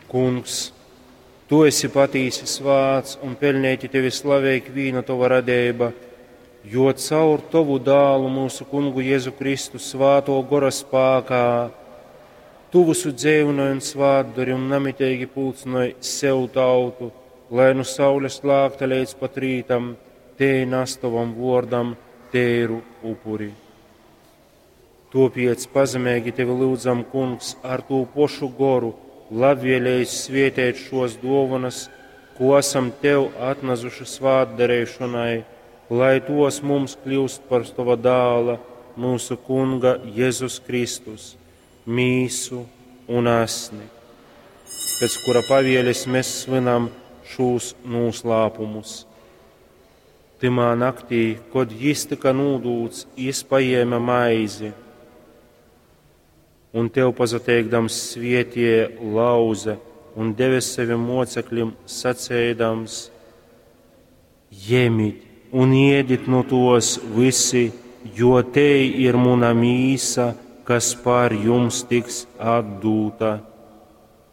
Kungs, tu esi patīsi svāts un peļneiti tevi slavej ikvīna tova radeiba, jo caur tovu dālu, mūsu kungu Jēzu Kristu, svātō gora spākā, tu visu dzeivnoj un svātdori un namiteigi pulcynoj sev tautu, lai nu saules lākta leidz pat rītam tei nas tovam vōrdam teiru upuri. Tōpēc pazemeigi tevi lyudzam, Kungs, ar tū pošu goru labvēlējis svietēt šos dōvonas, ko esam tev atnesuši svātdarīšanai, lai tos mums kļūst par tova dāla, mūsu kunga Jēzus Kristus, mīsu un asni, pēc kura pavieles mēs svinam šūs noslēpumus. Tymā naktī, kod jis tika nūdūts, jis paēma maizi un tev pasateikdams svietie lauze un deve sevim mocekļim, sacēdams: Jemit un iedit no tos visi, jo te ir muna mīsa, kas pār jums tiks atdūta.